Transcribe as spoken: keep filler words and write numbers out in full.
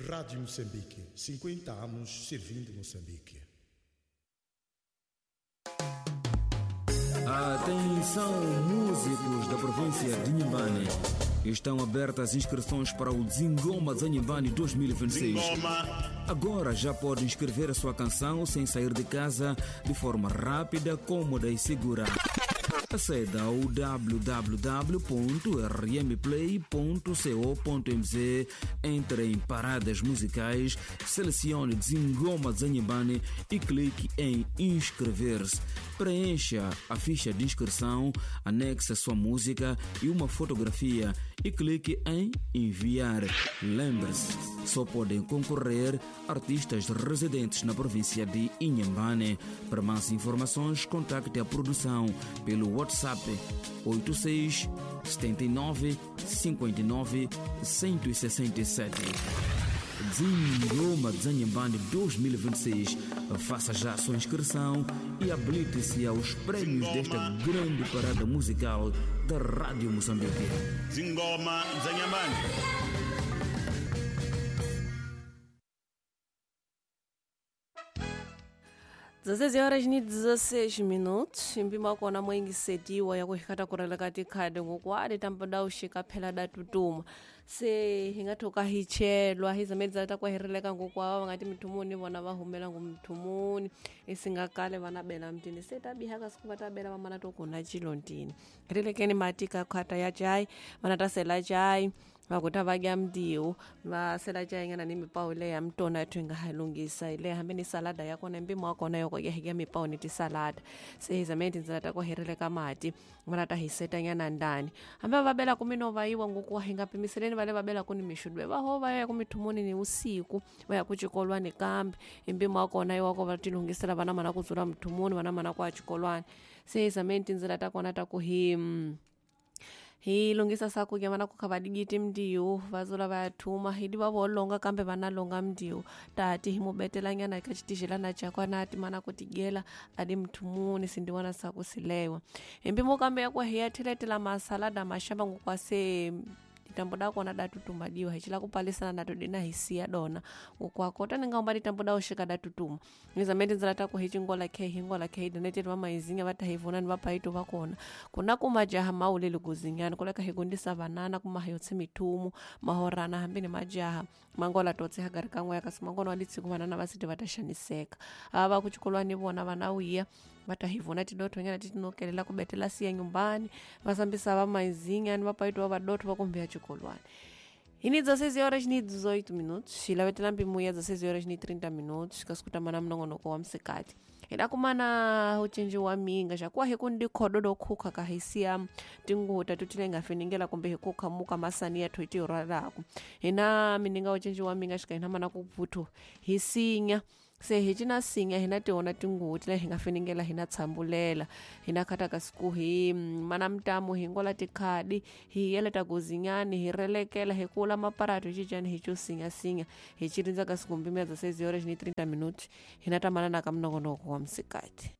Rádio Moçambique, cinquenta anos servindo Moçambique. Atenção, músicos da província de Inhambane. Estão abertas inscrições para o Zingoma de Inhambane dois mil e vinte e seis. Agora já pode inscrever a sua canção sem sair de casa, de forma rápida, cômoda e segura. Aceda ao w w w ponto r m play ponto co ponto m z, entre em paradas musicais, selecione Zingoma de Inhambane e clique em inscrever-se. Preencha a ficha de inscrição, anexe a sua música e uma fotografia e clique em enviar. Lembre-se, só podem concorrer artistas residentes na província de Inhambane. Para mais informações, contacte a produção pelo WhatsApp oito seis, setenta e nove, cinquenta e nove, cento e sessenta e sete. Zingoma de Inhambane dois mil e vinte e seis. Faça já a sua inscrição e habilite-se aos prêmios desta grande parada musical da Rádio Moçambique. Zingoma de Inhambane. dezesseis horas ni dezesseis minutos mpima kona moingisetiwa yakuhikata kureleka tikhadi ngokwadi tampada uxika phela da tutuma se hi nga thoka hi chelwa hi zamedza ta kwahereleka ngokwava va nga ti mithumuni vona va humela ngo mithumuni isinga kale va na bela mtini se ta biha ka siku va ta bela vamana to kuna chilontini relekeni mati ka khata ya chai vana ta sela chai vakuta va dya mdiwu va sela chai ngana ni mipawu leya ya mtona yathu hi nga ha lunghisa le hambi ni salada ya kona mpimo wa kona yoko ya hikya mipawu ni tisalada se hi zameni tindzela ta ku herileka mati vana ta hi setanyana ndani hambi va bela ku minova yiwa ngoku wa hi nga pimiseleni va le va bela ku ni mixudwe va ho va ya ku mithumuni ni usiku va ya ku xikolwani kambe hi mpimo wa kona yiwa ko va ti lunghisela vana mana ku dzula mithumuni vana mana ku ya xikolwani se hi zameni tindzela ta kona ta ku hi hi lunghisa sakudya vana ku kha va digiti mdiwu va dzula va ya thuma hi diva vo longa kambe va na longa mdiwu tati hi mu betelanyana eka xitixelana xa na ti mana ku tigela a di mthumuni sindiwana saku silewa hi mpimo kambe ya ku hi ya theletela masalada maxava ngokwa se ditambo da kona da tutuma diwa hi cila ku palisana na dina hi siya dona ngokwako tani nga umba ditambo da uxika da tutuma nizame tindzela ta ku hi cingola khe hi ngola khe hi doneteli va maizinya va ta hi vona ni va payito va kona kuna ku majaha mawuleli kuzinyana kuleka hi gundisa vanana kuma hi yotse mithumu mahorana hambi ni majaha mangola totse ha gari kan'we kasi mangona wa litsiku vanana va siti va ta xaniseka ava ku xikolwani vona vana wiya va ta hi vona tidothonyana ti tinokelela ku betela siya nyumbani va sambisa va maizinya ni va payito va vadotho va kumbe ya xikolwani. Hi ni dezesseis horas ni dezoito minutos hi lavetela mpimo ya dezesseis horas ni trinta minutos kasi ku tamana minongonoko wa msikati hi la kumana ucinci wa minga xa kuwa hi ku ndi khodo do khukha ka hi siya tinguta tutile nga finingela kumbe hi ku khamuka masani ya thoiti rwalaku hi na mininga ucinci wa minga xika hi na mana ku vuthu hi sinya se hi cina sinya hi na tiona tinguti leyi hi nga finingela hi na tshambulela hi na khata ka siku hi mana mtamu hi ngola tikhadi hi yeleta guzinyani hi relekela hi kula maparatu hi cicani hi cusinya sinya hi cirindza ka siku mbimi ya dezesseis horas ni trinta minutos hi na tamanana ka minongonoko wa msikati.